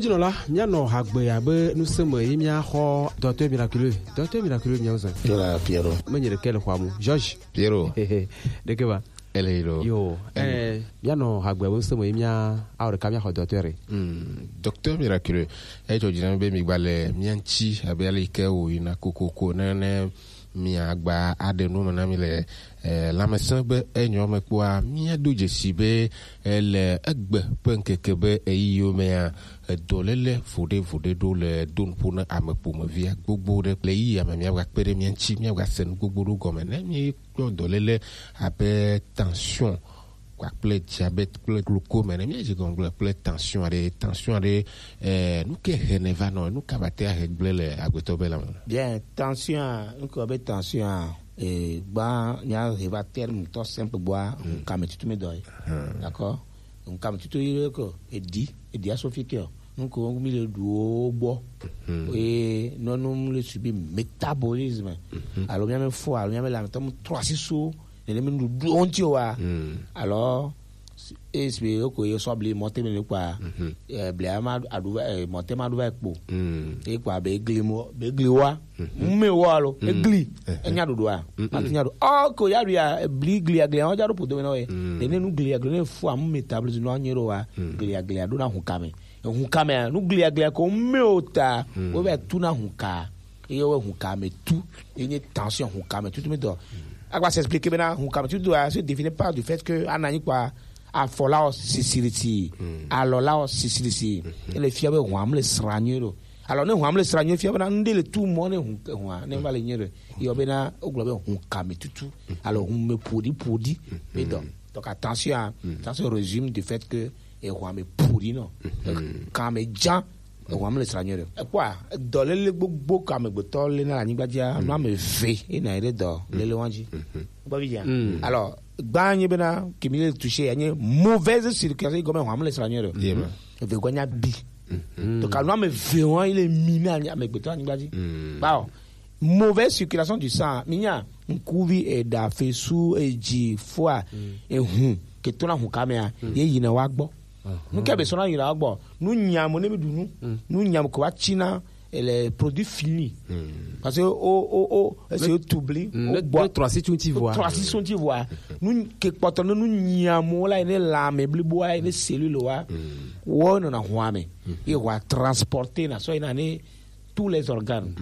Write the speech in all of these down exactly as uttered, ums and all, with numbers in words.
Jinɔla, míanɔ hagbe abe nuseme yi míaxɔ Docteur Miraculeux. Docteur Miraculeux, míawo zã. Yola Pierrot. Menye ɖeke le xɔa mu. Georges. Pierrot. Ɖeke va. Ele yi lo. Yo, eh, míanɔ hagbe abe nuseme yi mía, awɔ ɖeka míaxɔ Docteur. Hmm, Docteur Miraculeux. Etsɔ dzi na mí be migba le mía ŋuti abe ale yi ke wòyina kokoko ne, ne miagba aɖe nu me na mí le, eh, lãmesẽ be enyɔ me kpɔa, míado dzesi be, eh, le egbe ƒe ŋkeke be ɣeyiɣiwo mea, edɔléle voɖevoɖe ɖo le do nuƒo ne ame ƒomevia gbogbo ɖe. Le ɣeyiɣia me míagakpe ɖe mía ŋuti, míagase nu gbogbo ɖo gɔme. Ne míekpɔ dɔléle abe tension kpakple diabète kple glaucome ene, míadze gɔme gblẽ kple tension aɖe. Tension aɖe, eh, nu ke hene va nɔ, nu ka va te ahe gblẽ le agbetɔ be lãme? Bien, tension a, nu ke be tension a, eh, gba, míahe va terme tɔ simple gbɔa, hmm, ŋkame tutu mi dɔ ye. Hmm. D'accord? Ŋkame tutu yi ko, edi, edi aso fi ke o. Nu ke mi le ɖu wo gbɔ. Hmm. Eye nɔnu mi le subir métabolisme. Hmm. Alo míame fo, alo míame lãmetɔ mu trɔ asi so. Nene mi nuɖuɖuwo ŋuti wa. Mm. Alors, esi be ko ye sɔ bli mɔte me kpa. Mhm. Eh, bli ama aɖu va, eh, mɔte ma ɖu va kpo. Mm. E kpa be gli mo, be gli wa. Mhm. Mu me wa lo, e gli. Mhm. Enya ɖuɖua. Mhm. Ati nya ɖu. Oh, ko ya ɖu ya, eh, bli gli ya gli ya, wa ja ɖo podo me na we. Mm. Nene nu gli ya gli ne fo amu me tabli no anyi ɖo wa. Mm. Gli ya gli ya ɖo na ŋkame. Ŋkame, nu gli ya gli ya ko me o ta. Mm. Wo be tu na ŋka. Eye wo ŋkame tu, ye nye tension ŋkame tutu mi dɔ. Agba s'expliquer bena ŋkame tutu a se définit par du fait que ana nyi kpa afɔ la o sisirisi, alɔ la o sisirisi. Ele fia be hwam le sranye ɖo. Alors ne hwam le sranye fia bena ŋɖe le tu mɔ ne ŋu-, hwa ne va le nye ɖe. Yɔ bena o gblɔ be ŋkame tutu. Alors ŋume podi podi mi dɔ. Donc attention, hein, ça se résume du fait que e hwame podi nɔ. Kame jan. Ewa mi le sra nyuie ɖe. Ekpɔa, dɔléle gbogbo ke amegbetɔ le na le anyigba dzia, nu ame eve ye na yi ɖe dɔléle wa dzi. Kpɔ vi dzia. Alors, gba nye bena, ke mi le touché, ya nye mauvaise circulation, yi gɔme hwa mi le sra nyuie ɖe. Eve gɔ nya bi. Donc, anu ame eve wa yi le mi na amegbetɔ anyigba dzi. Kpɔ, mauvaise circulation du sang, mi nya, ŋkuvi, eɖa, fesu, edzi, fua, ehun, ke to na hun kamea, ye yi na wa gbɔ. Nu ke be sɔna yi na wa gbɔ. Nu nyamo ne mi ɖu nu. Nu nyamo ko wa tsi na, ele produit fini. Parce que o, o, o, esi o tubli, o gbɔ. Trois six twenty voix. Trois six twenty voix. Nu ke kpɔtɔ ne nu nyamo la ne lame blibo wa ne cellule wa. Wo nɔ na hua me. Ye wa transporter na so na ne tous les organes.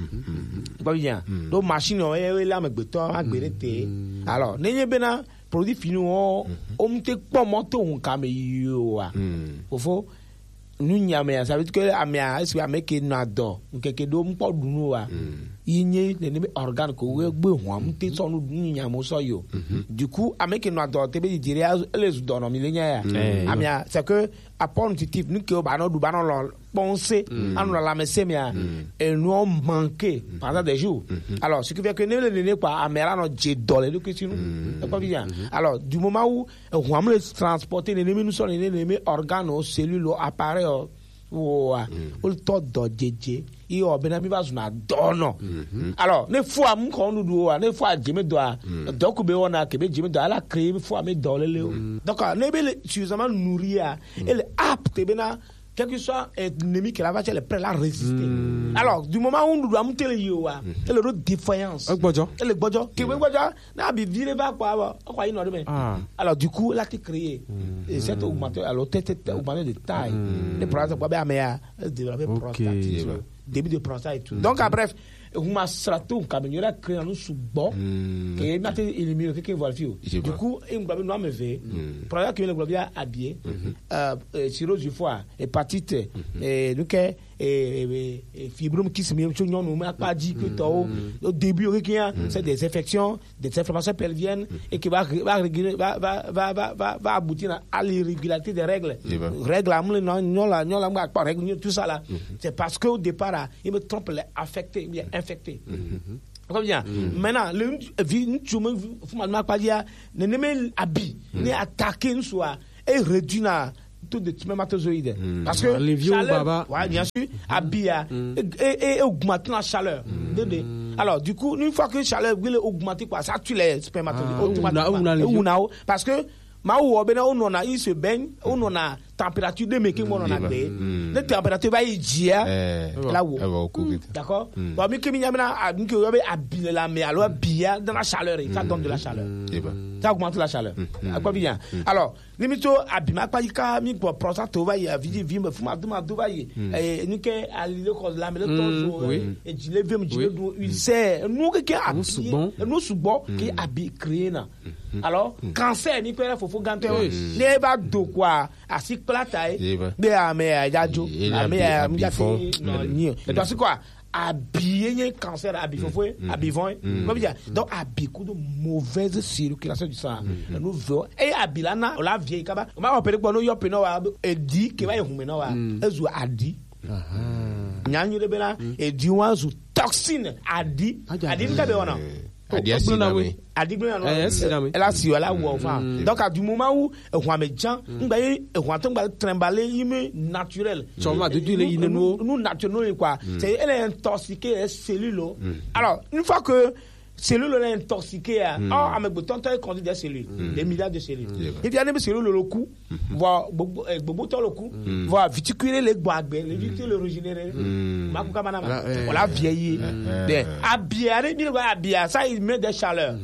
Ba bien. Donc machine o e la me gbetɔ agbere te. Alors, ne nye bena produit fini o, o mu te kpɔ mɔ to hun kame yo wa. Fofo, nu nyame ya, ça veut dire que ame ya, est-ce que ame ke nɔ adɔ, nkeke do mu kpɔ ɖu nu wa. Yi nye ne ne be organe ko we gbe hwa mu te sɔ nu nu nyame sɔ yo. Du coup, ame ke nɔ adɔ te be didi ya, ele zu dɔ nɔ mi le nya ya. Ame ya, c'est que apport nutritif, nu ke o ba nɔ ɖu, ba nɔ lɔ, pensée, anɔ la lamɛsɛ mea, enuɔ manquer pendant des jours. Alors, ce qui fait que ne le nene kpa, amela nɔ dze dɔ le ɖokui si nu. Ekpɔ fi ya. Alors, du moment où, eh, hwam le transporter nene mi nu sɔ nene nene mi organe o, cellule o, appareil o, wa, o tɔ dɔ dzedze, yi o bena mi va zuna dɔnɔ. Alors, ne fua mu kɔ nuɖuɖu wa, ne fua dze me dɔa, dɔ ku be wɔna ke be dze me dɔa, ala créer fua me dɔ lele o. Donc, ne be le suffisamment nourri a, ele apte bena quel que soit ennemi que la va, elle est prête à résister. Alors, du moment où nous doivons te le yoa, elle est défaillance. Egbɔdzɔ. Elle est gbɔdzɔ. Que be gbɔdzɔ, na bi vire va quoi, quoi, il n'aurait mais. Alors, du coup, là, tu crées. Et cette augmentation, alors, t'es, t'es augmenté de taille. Les problèmes, c'est quoi, ben, mais, euh, développer prostate, début de prostate et tout. Donc, ah, bref, huma srato, kamenyora créer un sous bon, que m'a été éliminé, que, que voilà, fio. Du coup, il m'a donné un V. Problème que le globe a habillé, euh, euh, cirrhose du foie, hépatite, eh, donc, eh, eh, eh, fibrome qui se met sur nous, mais pas dit que t'as au, au début, ok, hein, c'est des infections, des inflammations pelviennes, et qui va, va réguler, va, va, va, va, va, va aboutir à, à l'irrégularité des règles. Règles, à mon nom, non, là, non, là, moi, pas règles, tout ça là. C'est parce qu'au départ, là, il me trompe, il est affecté, il est infecté. Très bien. Maintenant, le, vi, tu me, faut m'en parler, ne, ne, me, habit, ne attaquer, nous, soit, et réduire, tout de spermatozoïdes. Parce que les vieux chaleur, baba. Ouais, bien sûr, habit, hein, et, et, et augmenter la chaleur. Deux, deux. Alors, du coup, une fois que la chaleur, il est augmenté, quoi, ça tue les spermatozoïdes. Ah, automatiquement. Ou na, ou na les vieux. Et ou na, parce que Mawu wɔ bena wonɔna, il se baigne, wonɔna température ɖe me ke wonɔna gbe. Ne température va yi dzia, la wo. D'accord. Bon, mi ke mi nya bena, mi ke yɔ be abi le la me, alors abia dans la chaleur, ça donne de la chaleur. Ça augmente la chaleur. Akpɔ bi nya. Alors, ni mi to abi ma kpa yi ka mi gbɔ prɔsa to va yi, avi vi me fuma do ma do va yi. Eh, ni ke ali le kɔ la me le tɔ so, eh, edzi le vem, dzi le du, ulcère, nu ke ke abi, nu sugbɔ ke abi créé na. Alors, cancer, mi kpɛ ɖe fofo gãtɔ ye. Ne eva do kua, asi kpla ta ye. Be ame ya dza dzo. Ame ya mi dza te nɔ nyi. Et parce que quoi, abi ye nye cancer, abi fofo ye, abi vɔn ye. Kɔ bi dza. Donc, abi kudo mauvaise circulation du sang. Enu ve. Et abi la na, o la vie kaba. O ma opérer kpɔ, no yɔ pe nɔ wa, edi ke va yi hume nɔ wa. Ezu adi. Nya nyuie ɖe bena, edi wa zu toxine, adi. Adi nu ka be wɔna? Adi asi na me. Adi gblẽ na no. Eh, asi na me. Ela si, ela wɔ fa. Donc, à du moment où ehua me dza, ngba ye ehua to ngba trimballer yi me naturel. Tsɔ ma dodo le yi ne nu. Nu naturel quoi. C'est, elle est intoxiquée, les cellules. Alors, une fois que cellule est intoxiquée, oh, ame gbetɔ ŋutɔ ye conduit des cellules, des milliards de cellules. Et puis, ane be cellule le ku, vɔ gbogbo, eh, gbogbo tɔ le ku, vɔ vitikui le gbɔ agbe, le vite le régénérer. Ma ku kama na ma. Voilà, vieillir. Des abia, mi le abia, ça il met des chaleurs.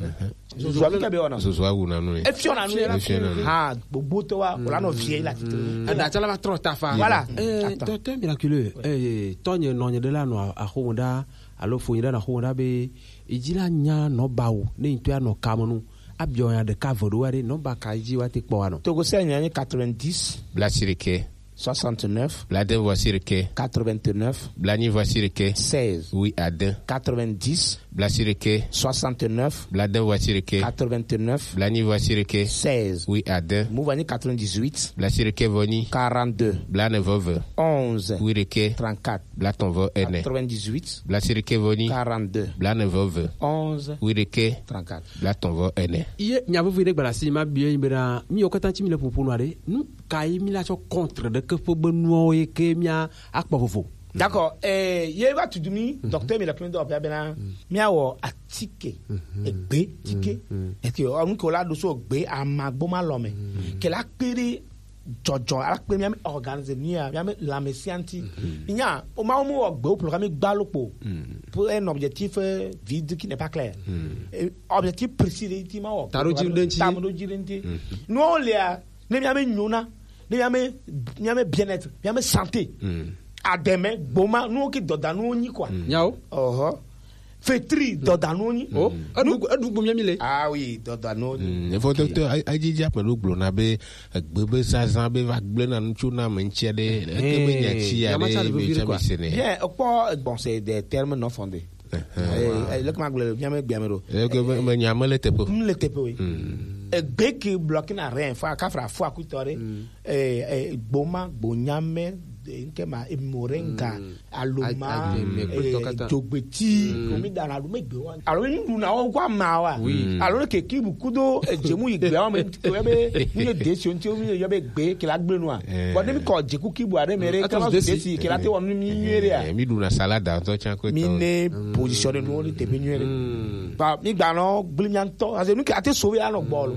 Zozo awu ke be wɔna. Zozo awu na nu. Efiɔ na nu. Efiɔ na nu. Ha, gbogbo tɔ wa, wala nɔ vieillir la tite. Ada tsala va trɔ ta fa. Voilà. Eh, docteur Miraculeux, eh, tɔnye nɔnye de la nɔ axome ɖa, alo fonye ɖa na axome ɖa be, edzi la nya nɔbawo, ne ŋutɔ ya nɔ kame nu. Abiɔ ya ɖeka ve ɖo wa ɖe, nɔba ka dzi wa te kpɔ wa nɔ. Togo se nya nye quatre-vingt-dix. Bla sirike. Soixante-neuf. Bla de vɔ sirike. Quatre-vingt-neuf. Bla nyi vɔ sirike. Seize. Oui, à deux. Quatre-vingt-dix. Bla sirike. Soixante-neuf. Bla de vɔ sirike. Quatre-vingt-neuf. Bla nyi vɔ sirike. Seize. Oui, à deux. Mu va nyi quatre-vingt-dix-huit. Bla sirike vɔ nyi. Quarante-deux. Bla ne vɔ ve. Onze. Oui, rike. Trente-quatre. Bla tɔn vɔ ene. Quatre-vingt-dix-huit. Bla sirike vɔ nyi. Quarante-deux. Bla ne vɔ ve. Onze. Oui, rike. Trente-quatre. Bla tɔn vɔ ene. Iye nya vevi ɖe gbala si ma biɔ yi bena, mi yɔ kata ti mi le popo nɔ ɖe. Nu ka yi mi la tsɔ contre ɖe ke ƒe be nuwo ye ke mia akpɔ vovo. D'accord. Eh, ye va tudu mi, docteur mi le kpɔn do bia bena, mia wɔ atike, egbe tike. Est-ce que, ɔ, nu ke la do so gbe amagbo ma lɔ me. Ke la kpe ɖe dzɔdzɔ, ala kpe mia mi organiser mia, mia mi lãmesẽ ŋuti. Nya, o ma, o mo wɔ gbe o programme gba lo kpo. Pour un objectif, euh, vide qui n'est pas clair. Et objectif précis de ti ma wɔ. Ta ɖo dzi ɖe ŋuti. Ta ɖo dzi ɖe ŋuti. No le a, ne mia mi nyona, ne mia mi, mia mi bien-être, mia mi santé. Ademe, gboma, nu ki dɔda nu nyi quoi. Nyawo. Oho. Fetri dɔdanuwo nyi. Oh, eɖu eɖu gbɔ mia mi le. Ah oui, dɔdanuwo nyi. Mm, efo to to ajiji akpe ɖo gblɔ na be egbe be zazã be va gblẽ na ŋutsu na ame ŋutia ɖe, eke be nya tsi ya ɖe be tsɔ mi se nɛ. Bien, ekpɔ egbɔn se des termes non fondés. Eh, eh, le kuma gblɔ mia me gbia me ɖo. Eke be me nya me le teƒe. M le teƒe oui. Egbe ke bloqué na rien, fa kafra fo akutɔ ɖe. Eh, eh, gboma, gbonyame, eh, nke ma, eh, moringa, aloma, eh, dzogbeti, komi dana ɖu me gbe wa. Alo mi ɖu na wo kwa ma wa. Alo ne keki bu kudo, eh, dzemu yi gbe wa me, ke be, mi ye desi onti, mi ye be gbe, ke la gbe nua. Bon, ne mi kɔ dzeku kibu aɖe me ɖe, ke la desi, ke la te wɔ nu mi nyuie ɖe ya. Eh, mi ɖu na salade ŋutɔ tsã ko. Mi ne position ɖe nuwo ɖe teƒe nyuie ɖe. Ba, mi gba nɔ gblẽ mia ŋutɔ, parce que nu ke ate so be anɔ gbɔ lo.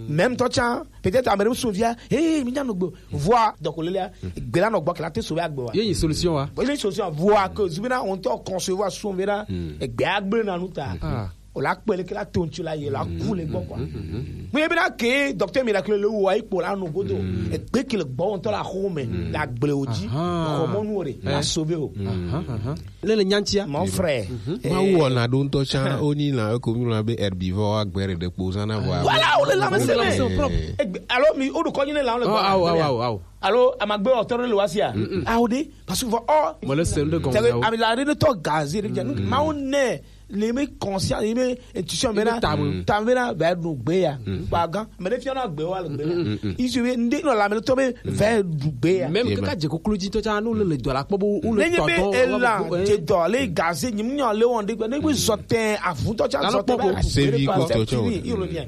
Même tɔ tsã, peut-être ame ɖewo sɔn via, hey, mi nya nɔ gbe. Vɔa, donc le la, gbe la nɔ gbɔ ke la te so be agbe wa. Ye nyi solution wa? Bon, ye nyi solution. Vɔa ke zu bena on tɔ concevoir sɔn bena, gbe agbe na nu ta. O la kpe le ke la to ŋutsu la ye la ku le gbɔ quoi. Mais bena ke docteur Miracle le wo ayi kpo la nɔ godo. Gbe ke le gbɔ on tɔ la xɔ me, la gble o dzi. Xɔ mɔnu o ɖe, la sauver o. Le le nyantia. Mon frère. Mawu wɔna ɖo ŋutɔ tsã, wonyi lã eko mi lɔna be herbivore, agbɛ ɖe ɖe kpo zãna vɔa. Voilà, wo le lãmesẽ me. Egbe, alo mi, woɖo kɔdzi ne lã le gbɔ. Awo, awo, awo, awo. Alo amagbe ɔtɔ ɖe le wa sia. Awo ɖe, parce que vɔ ɔ. Mɔle se ŋɖe gɔn. Tɛgɛ amila ɖe ne tɔ gaze ɖe dze. Mawu ne le me conscient, le me intuition me na. Tam me na va ɖu gbe ya. Ba gan. Me ɖe fia na gbe wa le gbe ya. Isu be ŋɖe nɔ lãme tɔ be va ɖu gbe ya. Même kaka dze koklo dzi tɔ tsã, no le le dɔ la kpɔ bo, wo le tɔ dɔ, elan dze dɔ le gaze nyi, nyɔ le wɔn ɖe gbe, ne gbe zɔtɛ, avutɔ tsã zɔtɛ ba. Asevi ko tɔ tsã. Il revient.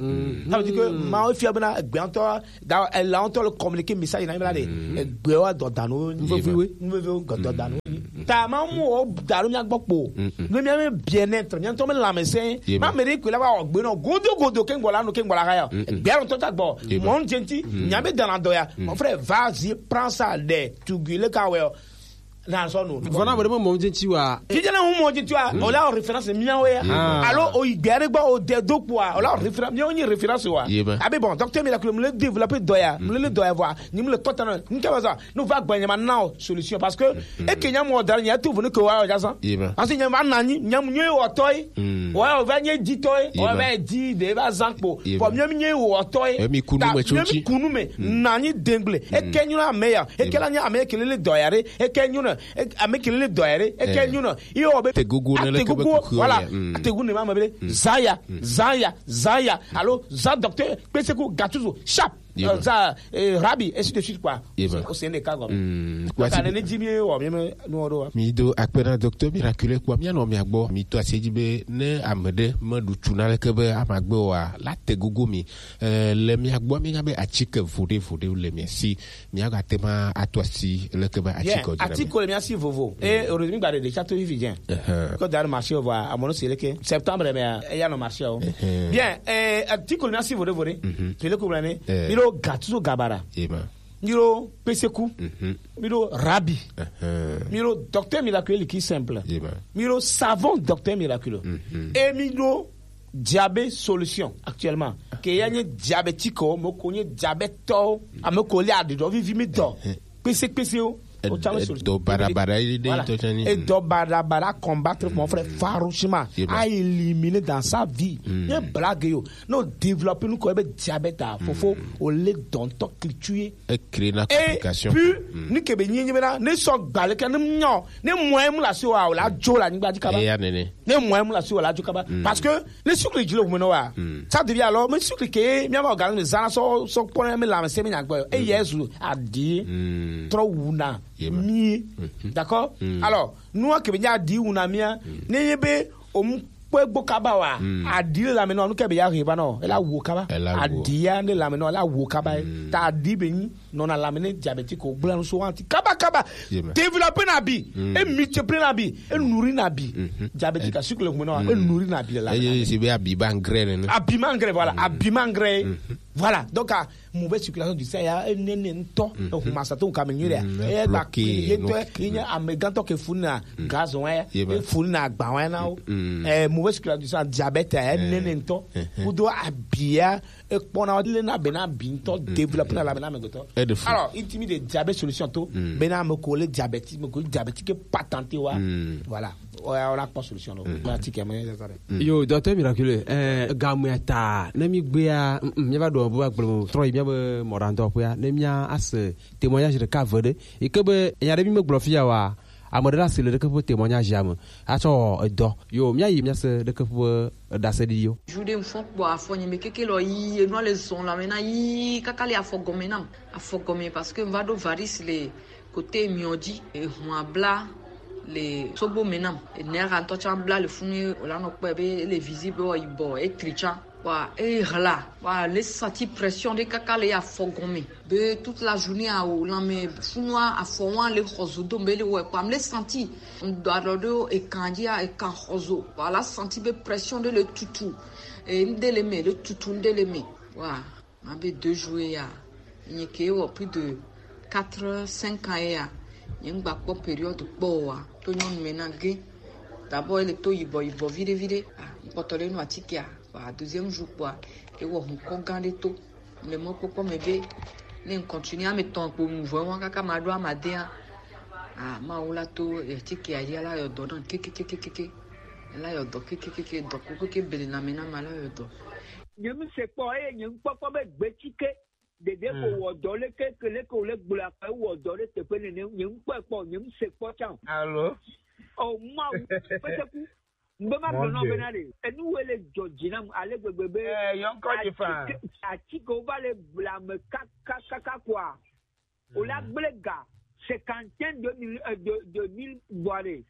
Ça veut dire que Mawu fia bena egbe ŋutɔ, da, elan ŋutɔ le communiquer message na mi la ɖe. Egbe wa dɔdanu. Nvevi we. Nvevi we dɔdanu. Ta ma mu o da ɖo mía gbɔ kpo. Ne mía me bien-être, mía ŋutɔ me lãmesẽ. Ma me ɖe koe la va wɔ gbe nɔ godo godo ke ŋgbɔ la no ke ŋgbɔ la haya. Gbea ŋutɔ ta gbɔ. Mon jenti, mía me dana dɔ ya. Mon frère, vas-y, prends ça, de tugui le ka wɛ. Na sɔ no. Vɔna bɔ de mo mon jenti wa. Fi jana mo mon jenti wa. O la o référence mía wɛ ya. Alo o igbe are gbɔ o de do kpo wa. O la o référence, mía o nyi référence wa. Abi bon, docteur Miracle, me le développer dɔ ya. Me le dɔ ya vɔ. Ni me le kɔta na. Ni ke ba za. No va gbɔ nya ma na o solution parce que e ke nya mo da nya tu vunu ke wa o ja san. Parce que nya ma na ni nya mo nyi o tɔ yi. Wa o va nyi di tɔ yi. O va di de va san kpo. Bon, mía mi nyi o tɔ yi. Mi kunu me tso mi kunu me na ni dengle. E ke nyu na me ya. E ke la nya me ke le dɔ ya re. E ke nyu na. Ame ke le dɔ ya re. E ke nyu na. I o be. Te gugu ne le ke be ku. Voilà. Te gugu ne ma me be. Zaya. Zaya. Zaya. Allô, za docteur, pe se ku gatuzo. Sharp. Za rabi, ainsi de suite quoi. O se ne ka gɔme. Ka ne ne dzi mi wɔ mi me nu wɔ ɖo wa. Mi do akpe na docteur Miracle kpɔ mía nɔ mía gbɔ. Mi to ase dzi be ne ame ɖe meɖu tu na leke be amagbe wa la te gogo mi. Le mía gbɔ mi nya be atike voɖe voɖe le mía si. Mía ga te ma ato asi leke be atike o dzi na mi. Atike le mía si vovo. E o mi gba ɖe ɖe tsa to vivi dze. Ko da marché o va amono se leke septembre me ya no marché o. Bien, eh, atike le mía si voɖe voɖe. Tele ko blane. Mi ɖo gatuzo gabara. Mi ɖo peseku. Mi ɖo rabi. Mi ɖo docteur Miracle qui simple. Mi ɖo savon docteur Miracle. Et mi ɖo diabète solution actuellement. Ke ya nye diabétique o, mo ko nye diabète o. Ame ko le aɖuɖɔ vivi mi dɔ. Kpese kpese o. O tsa me solution. Dɔ bada bada yi de tɔ tsa ni. Et dɔ bada bada combattre mon frère farouchement. A éliminer dans sa vie. Nye blague yo. No développer nu ko be diabète a fofo o le dɔntɔ culture. E créer na complication. Et puis ni ke be nyi nyi be na ne sɔ gba le ke ne nyɔ ne mɔ emu la si wa o la jo la nyigba di kaba. E ya nene. Ne mɔ emu la si wa la jo kaba. Parce que ne sucre dzi le hume no wa. Ça devient alors me sucre ke mi ma organisme zana so so pon me la me se me nya gbe. E yesu adi. Trop wuna. Mi. D'accord? Alors, nu ke be nya di wuna mi a. Ne ye be o mu kpɔ egbɔ kaba wa. Adi le lame nɔ nu ke be ya he ba nɔ ela wo kaba. Adi ya ne lame nɔ ela wo kaba. Ta adi be nyi nɔ na lame ne diabétique o gbla nu so anti kaba kaba. Développer na bi. E multiplier na bi. E nourrir na bi. Diabétique a sucre le hume nɔ e nourrir na bi le lame. Eye si be abi ba engrais ne. Abi ma engrais, voilà. Abi ma engrais. Voilà. Donc a mauvaise circulation du sang ya enene ŋutɔ. Ehuma sa to kame nyuie ya. E ba ki ye to ye nye amegãtɔ ke funu na gaz wa ya. E funu na agba wa na o. Eh, mauvaise circulation du sang, diabète ya enene ŋutɔ. Kudo abia e kpɔna le na be na bi ŋutɔ développer na la be na me gotɔ. Alors, intimi de diabète solution to be na me ko le diabète me ko diabète ke patenté wa. Voilà. Oya, ola kpɔ solution lo. Ba ti kɛ mɛ yɛ sare. Yo, docteur Miracle, eh, gamu ya ta ne mi gbea mi va do bo agblɔ trɔ yi mi be mɔɖaŋdɔ ƒea ne mi ase témoignage ɖeka ve ɖe yi ke be nya ɖe mi me gblɔ fia wa ame ɖe la se le ɖeke ƒe témoignage ame atsɔ edɔ yo mi ayi mi ase ɖeke ƒe ɖase ɖiɖiwo. Ju ɖe ŋfɔ kpɔ afɔ nye me keke lɔ yi enua le zɔn la me na yi kaka le afɔ gɔme nam afɔ gɔme parce que va ɖo varis le kote miɔ dzi ehun abla le sogbo me nam. Enea ŋutɔ tsã bla le funu ye wòla nɔ kpɔe be ele visible be yibɔ etri tsã. Wa eye hla wa le sati pression ɖe kaka le afɔ gɔme be toute la journée awo lãme funua afɔ wa le xɔ zo dom be le wɔe kpam le sati ŋdɔ alɔ ɖo ekan dzia ekan xɔ zo wa la sati be pression ɖe le tutu e ŋɖe le me le tutu ŋɖe le me wa. Mabe deux jours ya, nye ke wɔ plus de quatre cinq ans ya, nye ŋgba kpɔ période kpɔ wa to nyɔnu me na ge. D'abord ele to yibɔ yibɔ viɖe viɖe. Ah, ŋkpɔtɔ le nu atikea, wa deuxième jour kpɔa, ewɔ hunkɔ gã ɖe to. Le mɔkpɔkpɔ me be ne ŋ continue ame tɔn kpo nu vɔ wa kaka ma ɖo amadea. Ah, ma wo la to atikea ya la yɔ dɔ na kekekekeke. La yɔ dɔ kekekeke dɔ ko keke bele na me na ma la yɔ dɔ. Nye ŋu se kpɔ eye nye ŋkpɔkpɔ be gbetsike ɖeɖe ko wɔ dɔ leke ke leke wòle gblɔ akpa wɔ dɔ ɖe teƒe nene nye ŋkpɔe kpɔ nye ŋu se kpɔ tsã o. Alo. O mawu peteku mbe ma gblɔ nɔ bena ɖe enu wo le dzɔ dzi nam ale gbegbe be atike atike wo va le bla me kakakaka kɔa o la gble ga cinquante et un de mille euh, de de mille bɔ ɖe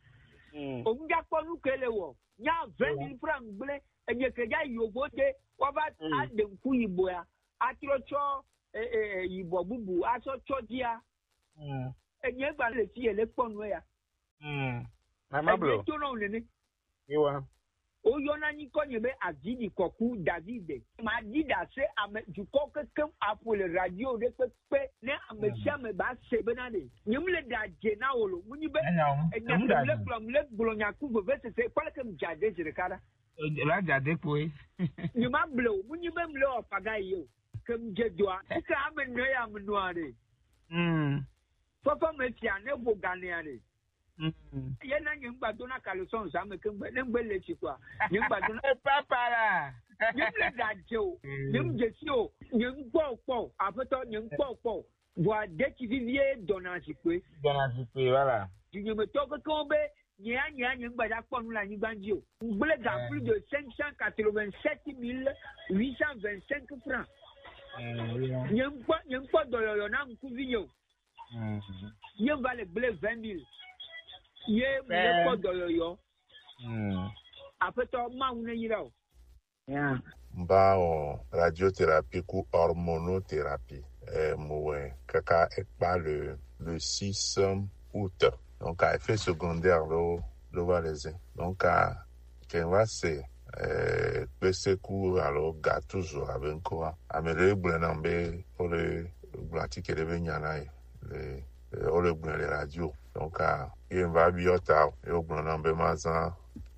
o ŋdza kpɔ nu ke le wɔ nya vingt mille francs gble enye ke dza yovo de wova aɖe ŋku yibɔ ya atrɔ tsɔ yibɔ bubu atsɔ tsɔ dzia. Enye gba le fi yele kpɔ nu ya. Hmm. Mama blo. Eto na o nene. Iwa. O yɔ na nyikɔ nye be Avidi Kɔku David. Ma di da se ame dukɔ keke aƒo le radio ɖe kpekpe ne ame sia ame ba se be na ɖe. Nye mu le da dze na o lo. Mu nyi be enya mu le gblɔ, mu le gblɔ nya ku veve sese kpale ke mu dza de zi ɖeka ɖa. La dza de kpoe. Nye ma ble o. Mu nyi be mu le o paga yi o. Ke mu dze doa. Ke ame nɔ ya mu nɔa ɖe. Mm. Fɔfɔ me fia ne vo ganea ɖe. Mm. Ye na nye ŋgba dona caleçon zã me ke ŋgbe, ne ŋgbe le tsi kɔa, nye ŋgba dona. Papa la. Nye ŋgbe da dze o, nye ŋdze si o, nye ŋkpɔ o kpɔ o, aƒetɔ, nye ŋkpɔ o kpɔ o. Vɔa detsi vivie dɔna zikpui. Dɔna zikpui, voilà. Dunyemetɔ kekewo be, nye ya, nye ya, nye ŋgba dza kpɔ nu le anyigba dzi o. Ŋgble ga plus de cinq cent quatre-vingt-sept mille huit cent vingt-cinq francs. Mm, yeah. Nye ŋkpɔ, nye ŋkpɔ dɔyɔyɔ na ŋkuvi nye o. Mm. Ye va le gblẽ vingt mille. Ye mu le kpɔ dɔyɔyɔ. Mm. Aƒetɔ Mawu ne yra o. Yeah. Ba o radiothérapie ku hormonothérapie. Eh, mo wɛ kaka ekpa le, le six août. Donc, à effet secondaire, lo, lo va les. Donc, à Ke va se, eh, kpeseku alo gatuzo abe ŋkɔa. Ame ɖe gblɔe nam be wole gblɔ atike ɖe be nya na ye le, eh, wole gblɔe le radio. Donc, ah, ye va biɔ ta o. Ye wogblɔ nam be mazã,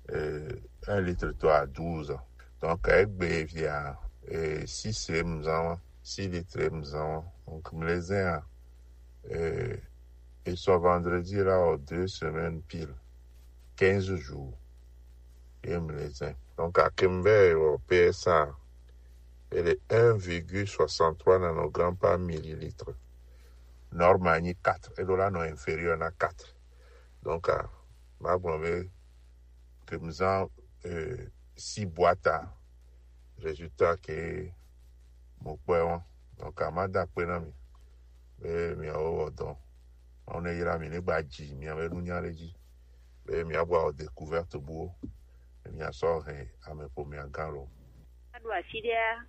eh, un litre tɔ à douze. Donc, egbe via, eh, six ye mu zã wa, six litres ye mu zã wa. Donc, mu le zẽa, eh, et soit vendredi là, aux deux semaines pile, quinze jours. Et me les ai. Donc, à Kimber, au P S A, elle est un virgule soixante-trois nanogrammes par millilitre. Normal, ni quatre. Et là, non, inférieur, na quatre. Donc, à ma blonde, que nous en, euh, six boîtes à résultat que mon père, donc, à ma dapé na mi. Be miawo wɔ dɔ. Mawu ne yra mi ne gba dzi miabe nunya ɖe dzi. Be miabu awɔ découverte buwo. Be miasɔ hɛn ame ƒomea gã lo. Aɖo afi ɖea.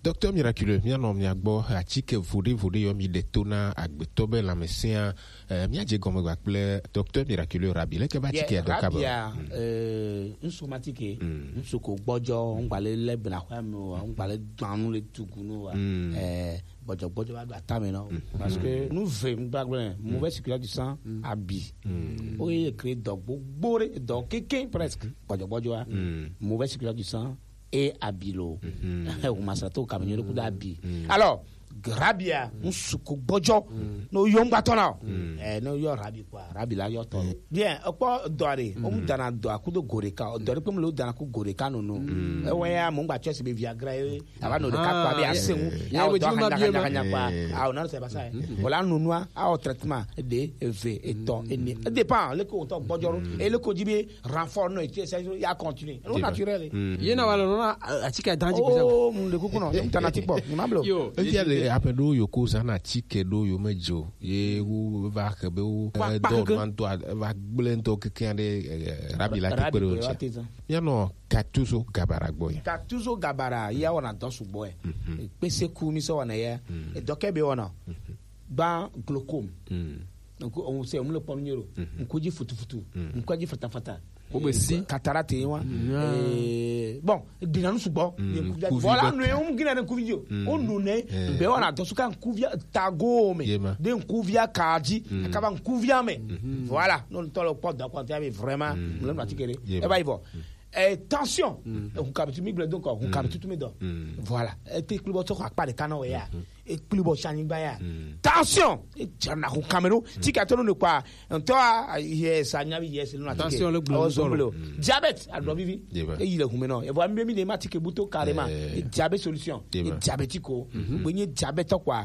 Docteur Miraculeux, míanɔ mia gbɔ, atike voɖe voɖe yɔ mi ɖe to na agbetɔ be lãmesẽa, eh, míadze gɔme gba kple Docteur Miraculeux Rabi. Leke be atike ya dɔ kaba? Rabia, eh, ŋsu matike, ŋsu ko gbɔdzɔ, ŋgba le le bena xɔa me o, ŋgba le gbanu le tugu no wa. Eh, gbɔdzɔgbɔdzɔ va ɖo atame na wo. Parce que nu ve ŋgbagblẽ, mauvaise circulation du sang, abi. Wo ye crée dɔ gbogbo ɖe, dɔ kéké presque. Gbɔdzɔgbɔdzɔa, mauvaise circulation du sang et abi lo. Wo masra to kamenyo ɖe kudo abi. Alors, rabia, ŋsu ko gbɔdzɔ, no yɔ ŋgbatɔ na o. Eh, no yɔ rabi quoi, rabi la yɔ tɔ. Bien, ekpɔ dɔ ɖe, o mu dana dɔ akudo go ɖeka, dɔ ɖe kpe mu le o dana ku go ɖeka nono. Ewe ya mo ŋgba tsɔ si be Viagra ye, ava no ɖeka kpa be ase ŋu. Ya wo dɔ hanya hanya hanya kpa. Ah, on a c'est pas ça. Voilà, nonua, ah, au traitement de, eve, etɔ, ene. E dépend, le ko tɔ gbɔdzɔ ro. E le ko dzi be renfort no, et c'est ya continue. No naturel. Ye na wala no na atike dan dzi. Oh, mu de kuku no, tana tikpɔ, ni ma blo. Yo, e fia le ape do yo ko sa na atike do yo me dzo. Ye wo va ke be wo do man to va gble to keke de rabi la ke kpe do. Míanɔ Gattuso Gabara gbɔ ya. Gattuso Gabara ya wɔna dɔ sugbɔ ɛ. Kpese ku mi sɔ wɔna ya. Edɔ kɛ be wɔna. Gba glaucome. Donc on sait, on le pɔn nyero. Nkuji futu futu. Nkuji fata fata. Ko be si. Cataracte wa. Eh, bon, dina nu sugbɔ. Voilà, no e um gina ne kuvi jo. O no ne be wɔna dɔ suka nkuvia tago me. De nkuvia kaji. Akaba nkuvia me. Voilà, no tɔ lo kpɔ dɔ kpɔ tia be vraiment. Mo le ma tikere. E ba ivo. Eh, tension. Hun kabitu mi gblẽ donc, hun kabitu tu mi dɔ. Voilà. E te kpli bɔ tɔ akpa ɖeka na o ya. E kpli bɔ si anyigba ya. Tension. E dze na hun kamero. Ti ka to no ne kpa. Ntɔ a, yes, anya bi yes, no na tension le gblẽ. Diabète, a dɔ vivi. E yi le hun me no. E vo mi be mi de ma tike buto carrément. E diabète solution. E diabétique o. Gbe nye diabète quoi.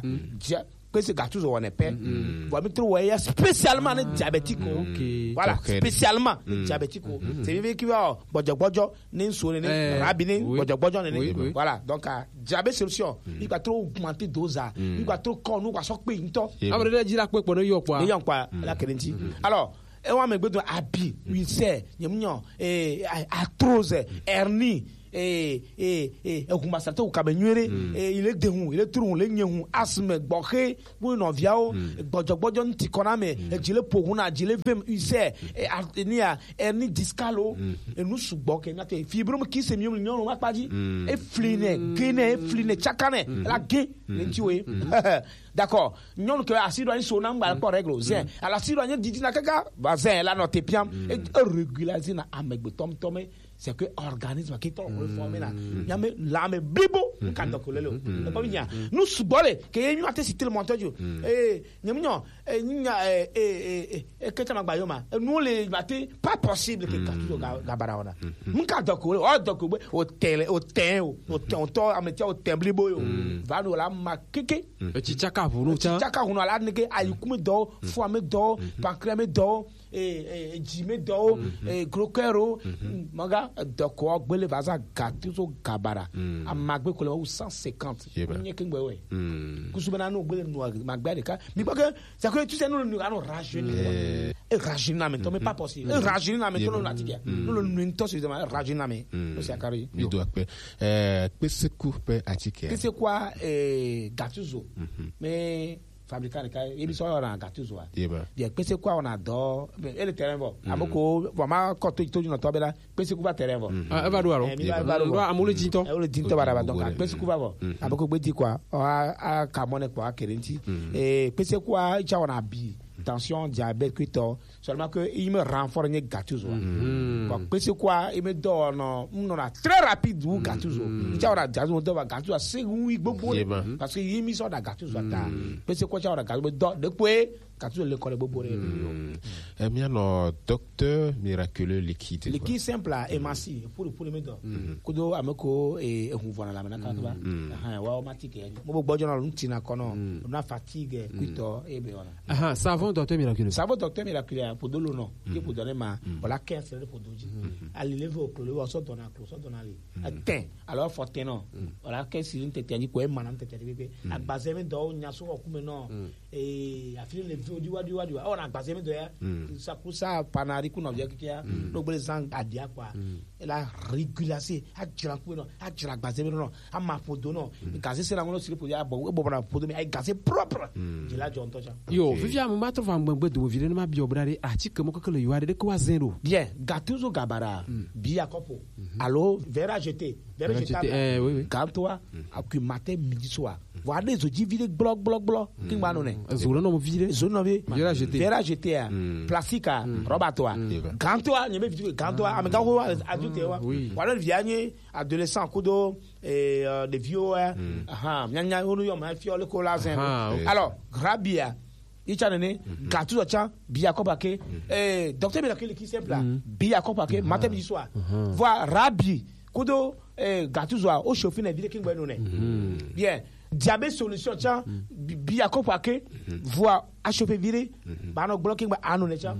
Kpese Gattuso wɔnɛ pɛ. Vɔ mi tro wɔ ya spécialement ne diabétique o. Voilà, spécialement ne diabétique o. C'est bien qui va gbɔdzɔgbɔdzɔ ne nso ne ne rabi ne gbɔdzɔgbɔdzɔ ne ne. Voilà, donc diabète solution. Il va trop augmenter dose a. Il va trop kɔ nu wa sɔ kpe ntɔ. Amre de dzi la kpe kpɔ ne yɔ kpa. Ne yɔ kpa la kene nti. Alors, e wa me gbedo abi, ulcère, nyemnyɔ, eh, arthrose, hernie. Eh, eh, eh, ehun masrate wu kabe nyuie ɖe. Eh, il est dehun, il est trou, il est nyehun, asthme, gbɔxe, kple nɔviawo, gbɔdzɔgbɔdzɔ ŋuti kɔ na ame, edzi le ƒo hu na, dzi le vem, ulcère, eh, artenia, hernie discale, enu sugbɔ ke míate. Fibrome kyste, mi nyɔnu ma kpa dzi. Efli nɛ, ge nɛ, efli nɛ, tsaka nɛ, la ge, le ŋuti wo ye. D'accord. Nyɔnu ke asi ɖo anyi so na ŋgba kpɔ règle o. Zin. Ala asi ɖo anyi didi na kaka, va zin la nɔ te piam. E, e régulariser na amegbetɔ ŋutɔ me. C'est que organisme ke tɔ reformer na. Nya me la me blibo, ka dɔ ko le lo. E ko nya. Nu sugbɔ le, ke ye mi ate citer le montant jo. Eh, nyem nyo, eh, nya, eh, eh, eh, eh, eh, ke tama gba yo ma. Eh, nu le ma te, pas possible ke ka tu ga, ga bara ona. Nka dɔ ko le, o dɔ ko be, o tele, o ten, o, o ten, o tɔ, ame tia, o ten blibo yo. Va no la ma keke. Etsi tsaka ʋunu tsã. Etsi tsaka ʋunu ala neke, ayikume dɔ, foie me dɔ, pancréas me dɔ, eh, eh, dzi me dɔ, eh, gros cœur o, maga dɔ ko gbele va za gati so gabara. Amagbe ko le wu cent cinquante. Yeba. Nye kengbe we. Kusu bena no gbele no magbe ɖeka. Mi gbɔ ke, c'est que tu sais, nous, nous allons rajeunir. Eh. Et rajeunir na me, to me pas possible. Et rajeunir na me, to no na tike. Nous, nous, nous, to suffisamment rajeunir na me. No c'est carré. Mi do akpe. Eh, kpeseku pe atike. Kpeseku a, eh, Gattuso. Mais fabricant de cas, ebi so na Gattuso a. Yeba. Bien, kpeseku a ona do, e le terrain bo. Amoko, vraiment, ko to, to, no to bela, kpeseku va terrain bo. Ah, e va ɖo alo. Eh, mi va, va ɖo. Ndo amu le dintɔ. Eh, o le dintɔ bara ba, donc, kpeseku va bo. Amoko gbe di quoi. O a, a, kamone quoi, kerenti. Eh, kpeseku a, cha ona bi. Tension, diabète, kuitɔ. Seulement que il me renforce nye Gattuso. Bon, kpeseku a, il me donne, on a très rapide ou Gattuso. Il y a Gattuso, on doit Gattuso, c'est oui, beaucoup. Parce que il me sort de Gattuso. Kpeseku a, on a Gattuso, donc, depuis, Gattuso, l'école est beaucoup. Eh, bien, non, docteur miraculeux liquide. Liquide simple, là, et massi, pour, pour le mettre. Kudo, ameko, et, et, on voit la, maintenant, quand tu vas. Ah, ouais, on m'a dit que, mo bo gbɔdjɔ na, on tina kono, on a fatigue, kuitɔ, et bien, voilà. Aha, savon docteur miraculeux. Savon docteur miraculeux, pour de l'eau, non. Qui pour donner ma, voilà, quinze c'est pour doji. Ali leve au clou, le wa so dona clou, so dona li. Atteint. Alors, faut tenir. Voilà, quinze c'est une tête, ni quoi, manan tête, ni quoi. Agbaze me do, nya so, kume non. Et a fini le vieux, du wa, du wa, du wa. Oh, on a agbaze me do, ya. Ça, pour ça, panari, kuna, via, kia. Donc, les gens, adia, quoi. Et la régularité, a djira, kume non, a djira, agbaze me non. Ama ƒodo nɔ. Gaze se na ŋlɔ si ƒodo ya bɔ, e bɔbɔ na ƒodo mi, ayi gaze propre. Dzi la dzɔ ŋutɔ tsã. Yo, vivia mo ma trɔ va ŋgbegbe do vi ɖe ne ma biɔ bra ɖe, atike mo keke le yua ɖe, ɖe ke wa zẽ ɖo. Bien, Gattuso gabara, bi ya kɔpo. Alo, verre à jeter, verre jetable. Eh, oui, oui. Gantoa, akui matin, midi, soir. Vɔ aɖe zo dzi vi ɖe gblɔ, gblɔ, gblɔ. Ki ŋgba nɔ nɛ. Zo le nɔ vi ɖe. Zo nɔ vi. Verre à jeter. Verre à jeter, plastique, rɔba toa. Gantoa, nye be vi gantoa, ame gawo, adio te wa. Oui. Wa le via nye adolescent kudo, eh, euh, ɖeviwo, eh, aha, mianya wo nu yɔ ma fiɔ le ko la zin. Alors, Rabia, itsa nene, Gattuso tsã, bia kɔ pake, eh, docteur Miracle qui simple là, bia kɔ pake, matin, midi, soir. Voilà, Rabi, kudo, eh, Gattuso, o chauffer na vie de king bueno ne. Bien, diabète solution tsã, bia kɔ pake, voilà, a chauffer vire, ba no bloqué ba anu ne tsã.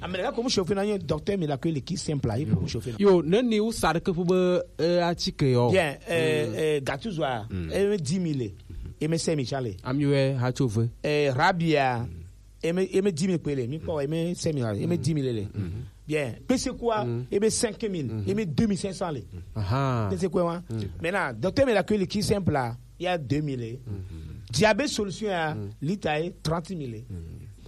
Amene ka ko mu chauffer na nye docteur Miracle qui simple là, il faut mu chauffer. Yo, ne ni u sa de ke fu be, eh, atike yo. Bien, eh, eh, Gattuso, eh, dix mille, e me cinq mille tsã le. Ami we ha tso ve. Eh, Rabia, e me, e me dix mille kpe le, mi kpɔ, e me cinq mille, e me dix mille le. Bien, Kpesekua, e me cinq mille, e me deux mille cinq cents le. Aha. Kpesekua wa. Maintenant, docteur Miracle qui simple là, il y a deux mille. Diabète solution ya, litre est trente mille.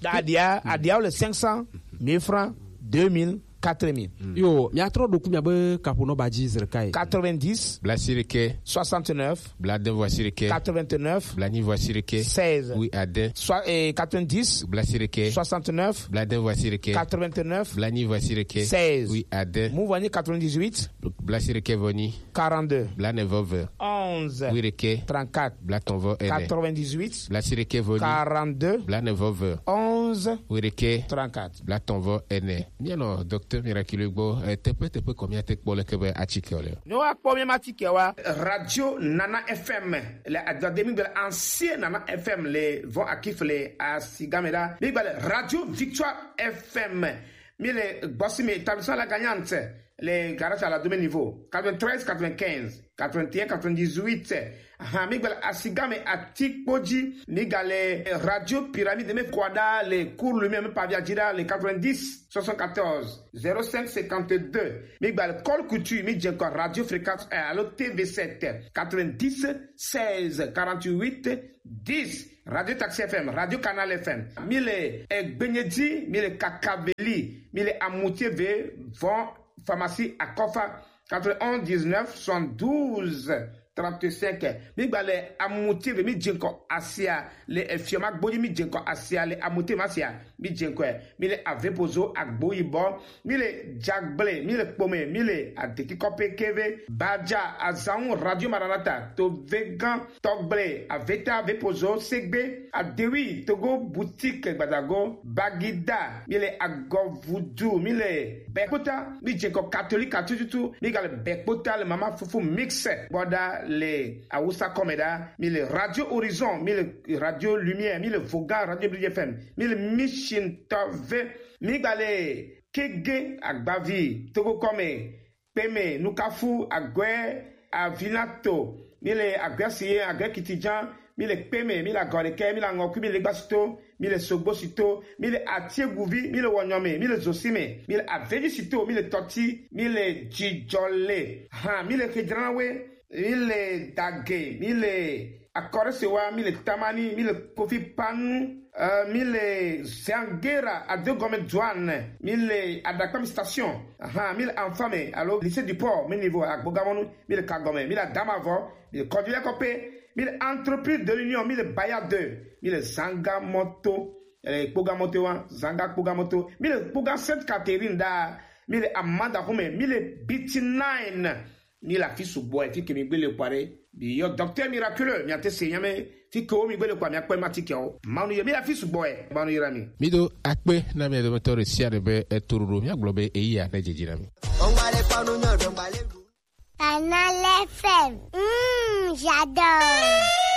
Adia, adia le cinq cent, mille francs, deux mille, quatre mille. Yo, mi a trɔ ɖo ku mi a be kapo nɔ ba dzi zre kai. Quatre-vingt-dix, bla sirike, soixante-neuf, bla de voix sirike, quatre-vingt-neuf, bla ni voix sirike, seize, oui, ade. Soit, eh, quatre-vingt-dix, bla sirike, soixante-neuf, bla de voix sirike, quatre-vingt-neuf, bla ni voix sirike, seize, oui, ade. Mu voix ni quatre-vingt-dix-huit, bla sirike voix ni quarante-deux, bla ne vɔ ve, onze, oui, rike, trente-quatre, bla tɔn vɔ ene, quatre-vingt-dix-huit, bla sirike voix ni quarante-deux, bla ne vɔ ve, onze, oui, rike, trente-quatre, bla tɔn vɔ ene. Mianɔ docteur Miraculeux gbɔ, eh, teƒe teƒe kɔ miate kpɔ leke be atike le. Ne woakpɔ míaƒe atike wa, Radio Nana F M le Agbadé, mígbe le ancien Nana F M le vɔ akif le Asigame la, mígbe le Radio Victoire F M. Mi le Gbɔsime, établissement La Gagnante. le garage à la Dome Niveau, quatre-vingt-treize quatre-vingt-quinze, quatre-vingt-un quatre-vingt-dix-huit. Ahan, mi gba le Asigame Atikpoji, mi ga le Radio Pyramide, mi kwada le Cours Lumière, mi pavia jira le quatre-vingt-dix soixante-quatorze zéro cinq cinquante-deux. Mi gba le Col Couture, mi je encore Radio Fréquence un, alors T V sept, quatre-vingt-dix seize quarante-huit dix. Radio Taxi F M, Radio Canal F M. Mi le Egbenyedi, mi le Kakaveli, mi le Amutieve, Von Pharmacie Akofa, quatre-vingt-onze dix-neuf soixante-douze trente-cinq. Mi gba le Amutieve, mi je encore Asia, le Efioma Gboji, mi je encore Asia, le Amutieve Asia, mi je encore, mi le Avepozo Agboyibɔ, mi le Jagble, mi le Kpome, mi le Adekikɔpe Keve, Baja, Azanwu, Radio Maranatha, Tovegan, Tɔgble, Aveta, Vepozo, Segbe, Adewi, Togo, Boutique, Gbadago, Bagida, mi le Agɔvudu, mi le Bɛkpota, mi je encore Catholique tututu, mi ga le Bɛkpota, le Mama Fufu Mix, bɔda le Awusa Kɔmɛda, mi le Radio Horizon, mi le Radio Lumière, mi le Voga, Radio Bridge F M, mi le Mission Tɔve, mi gba le Kege Agbavi, Togo Kɔmɛ, Kpeme, Nukafu, Aguɛ, Avinato, mi le Aguɛ Siye, Aguɛ Kitijan, mi le Kpeme, mi le Agɔrikɛ, mi le Aŋɔkui, mi le Gbasito, mi le Sogbosito, mi le Atieguvi, mi le Wɔnyɔme, mi le Zosime, mi le Avejisito, mi le Tɔti, mi le Jijɔle, hã, mi le Kedrawe, mi le Dage, mi le Akɔrɛsewa, mi le Tamani, mi le Kofi Panu, euh, mi le Zangera, Adegɔme Duane, mi le Adakpami Station, ahan, mi le Anfame, alo Lycée du Port, mi niveau Agbogamɔnu, mi le Kagɔme, mi le Adamavɔ, mi le Kɔdulɛ Kɔpe, mi le Entreprise de l'Union, mi le Baya deux, mi le Zanga Moto, eh, Kpoga Moto wa, Zanga Kpoga Moto, mi le Kpoga Sainte Catherine da, mi le Amanda Hume, mi le B T nine, mi le afi sugbɔ, eh, fi ke mi gbele kpare, mi yɔ Docteur Miraculeux, mi ate se nyame, fi ke wo mi gbele kpare, mi akpɛ ma ti ke wo. Manu ye, mi le afi sugbɔ, eh, manu ye ra mi. Mi do akpe na mi dometɔ ɖe sia ɖe be etoroɖo, mi agblɔ be eya ne dzedzi na mi. Canal F M. Mm, j'adore.